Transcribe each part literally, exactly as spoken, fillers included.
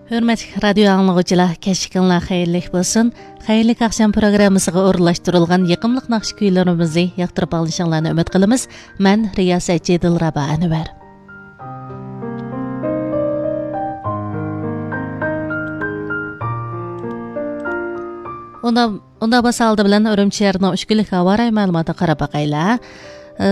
ھۆرمەتلىك رادىيو ئاڭلىغۇچىلار، كەچلىكىڭلار خەيرلىك بولسۇن. خەيرلىك ئاخشام پروگراممىسىغا ئورۇنلاشتۇرۇلغان يېقىملىق ناخشا كۈيلىرىمىزنى ياقتۇرۇپ ئاڭلىشىڭلارنى ئۈمىد قىلىمىز. مەن رىياسەتچى دىلرەبا ئەنۋەر. ئۇندا ئۇنداق بولسا ئالدى بىلەن ئۈرۈمچى شەھىرىنىڭ ئۈچ كۈنلۈك ھاۋا رايى مەلۇماتىغا قاراپ باقايلى. ئە،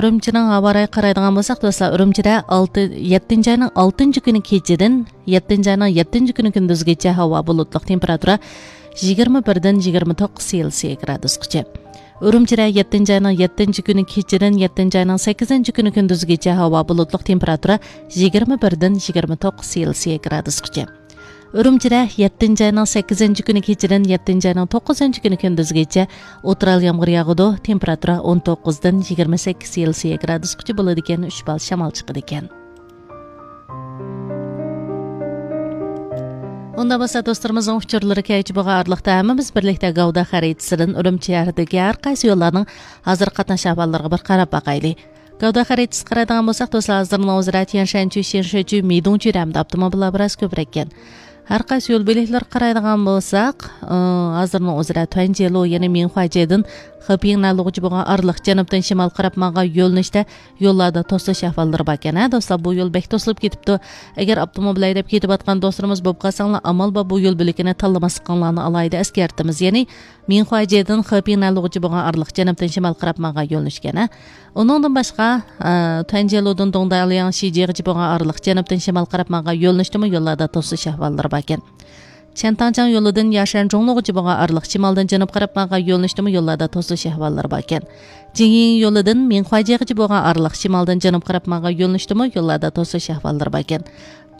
ئۈرۈمچىنىڭ ھاۋا رايىغا قارايدىغان بولساق، دوستلار، ئۈرۈمچىدە ئالتە، يەتتىنچى ئاينىڭ ئالتىنچى كۈنى كېچىدىن، يەتتىنچى ئاينىڭ يەتتىنچى كۈنى كۈندۈزگىچە ھاۋا بۇلۇتلۇق، تېمپېراتۇرا يىگىرمە بىردىن يىگىرمە توققۇز سېلسىيە گرادۇسقىچە. ئۈرۈمچىدە يەتتىنچى ئاينىڭ يەتتىنچى كۈنى كېچىدىن، يەتتىنچى ئاينىڭ سەككىزىنچى كۈنى كۈندۈزگىچە ھاۋا بۇلۇتلۇق، تېمپېراتۇرا يىگىرمە بىردىن يىگىرمە توققۇز سېلسىيە گرادۇسقىچە. ئۈرۈمچىدە يەتتىنچى ئاينىڭ سەككىزىنچى كۈنى كېچىدىن يەتتىنچى ئاينىڭ توققۇزىنچى كۈنى كۈندۈزگىچە ئوتتۇرا ھال يامغۇر ياغىدۇ. تېمپېراتۇرا ئون توققۇزدىن يىگىرمە سەككىز سېلسىيە گرادۇسقىچە بولىدىكەن، ئۈچ بال شامال چىقىدىكەن. ئۇنداق بولسا، دوستلىرىمىزنىڭ ئۇچۇرلىرى كەلگۈچى بولغان ئارىلىقتا ھەممىمىز بىرلىكتە گەۋدە خەرىتىسىدىن ئۈرۈمچى شەھىرىدىكى ھەر قايسى يوللارنىڭ ھازىرقى قاتناش ئەھۋاللىرىغا بىر قاراپ باقايلى. گەۋدە خەرىتىسىگە قارايدىغان بولساق، دوستلار، ھازىرنىڭ ئۆزىدە تيەنشەنچۈ، شيەنشەچۈ، مىدۇڭچۈ ھەمدە ئاپتوموبىللار بىراز كۆپرەككەن. ھەر قايسى يول بۆلەكلىرىگە قارايدىغان بولساق، ئى، ھازىرنىڭ ئۆزىدە تۇەنجيېلۇ، يەنى مىڭخۇەجيېدىن خېپىڭ نەنلۇغۇچە بولغان ئارىلىق جەنۇبتىن شىمال قاراپ ماڭغان يۆنىلىشتە يوللاردا توسۇلۇش ئەھۋاللىرى باركەن. ھە، دوستلار، بۇ يول بەك توسۇلۇپ كېتىپتۇ. ئەگەر ئاپتوموبىل ھەيدەپ كېتىۋاتقان دوستلىرىمىز بولۇپ قالساڭلار، ئامال بار بۇ يول بۆلىكىنى تاللىماسلىقىڭلارنى ئالاھىدە ئەسكەرتىمىز. يەنى مىڭخۇەجيېدىن خېپىڭ نەنلۇغۇچە بولغان ئارىلىق جەنۇبتىن شىمال قاراپ ماڭغان يۆنىلىشكەن، ھە. ئۇنىڭدىن باشقا، ئە، تۇەنجيېلۇدىن دۇڭدالياڭ شىجيېغىچە بولغان ئارىلىق جەنۇبتىن شىمال قاراپ ماڭغان يۆنىلىشتىمۇ يوللاردا توسۇلۇش ئەھۋاللىرى باركەن. چيەنتاڭجياڭ يولىدىن ياشەن جۇڭلۇغىچە بولغان ئارىلىق شىمالدىن جەنۇب قاراپ ماڭغان يۆنىلىشتىمۇ يوللاردا توسۇلۇش ئەھۋاللىرى باركەن. جىڭيىڭ يولىدىن مىڭخۇەجيېغىچە بولغان ئارىلىق شىمالدىن جەنۇب قاراپ ماڭغان يۆنىلىشتىمۇ يوللاردا توسۇلۇش ئەھۋاللىرى باركەن.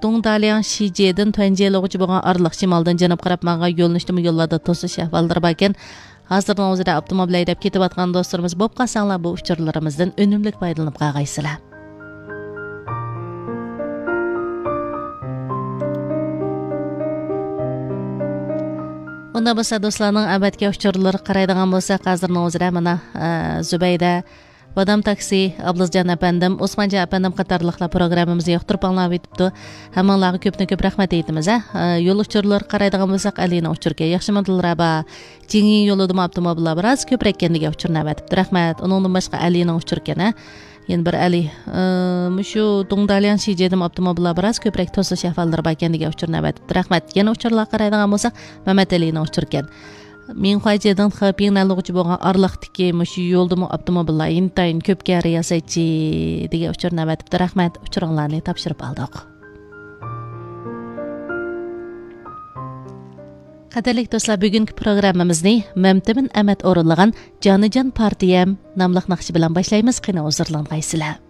دۇڭدالياڭ شىجيېدىن تۇەنجيېلۇغىچە بولغان ئارىلىق شىمالدىن جەنۇب قاراپ ماڭغان يۆنىلىشتىمۇ يوللاردا توسۇلۇش ئەھۋاللىرى باركەن. ھازىرنىڭ ئۆزىدە ئاپتوموبىل ھەيدەپ كېتىۋاتقان دوستلىرىمىز بولۇپ قالساڭلار، بۇ ئۇچۇرلىرىمىزدىن ئۈنۈملۈك پايدىلىنىپ قالغايسىلەر. ئۇنداق بولسا، دوستلارنىڭ ئەۋەتكەن ئۇچۇرلىرىغا قارايدىغان بولساق، ھازىرنىڭ ئۆزىدە مانا، ئە، زۇبەيدە، بادام تاكسى، ئابلىزجان ئەپەندىم، ئوسمانجان ئەپەندىم قاتارلىقلار پروگراممىمىزنى ياقتۇرۇپ ئاڭلاۋېتىپتۇ. ھەممىڭلارغا كۆپتىن كۆپ رەھمەت ئېيتىمىز، ھە. ئە، يول ئۇچۇرلىرىغا قارايدىغان بولساق، ئەلىنىڭ ئۇچۇرى ئىكەن. ياخشىمۇ دىلرەبا؟ جىڭيىڭ يولىدىمۇ ئاپتوموبىللار بىراز كۆپرەككەن دېگەن ئۇچۇرنى ئەۋەتىپتۇ. رەھمەت. ئۇنىڭدىن باشقا ئەلىنىڭ ئۇچۇرى ئىكەن، ھە. يەنە بىر ئەلى، ئى، مۇشۇ دۇڭدالياڭ شىجيېدىمۇ ئاپتوموبىللار بىراز كۆپرەك توسۇلۇش ئەھۋاللىرى باركەن دېگەن ئۇچۇرنى ئەۋەتىپتۇ. رەھمەت. يەنە ئۇچۇرلارغا قارايدىغان بولساق، مەمەت ئەلىنىڭ ئۇچۇرى ئىكەن. مىڭخۇەجيېدىن خېپىڭ نەنلۇغۇچە بولغان ئارىلىقتىكى مۇشۇ يولدىمۇ ئاپتوموبىللار ئىنتايىن كۆپكەن، رىياسەتچى، دېگەن ئۇچۇرنى ئەۋەتىپتۇ. رەھمەت. ئۇچۇرۇڭلارنى تاپشۇرۇپ ئالدۇق. قەدىرلىك دوستلار، بۈگۈنكى پروگراممىمىزنى مەمتىمىن ئەمەت ئورۇنلىغان جانىجان پارتىيەم ناملىق ناخشا بىلەن باشلايمىز. قېنى، ھۇزۇرلانغايسىلەر.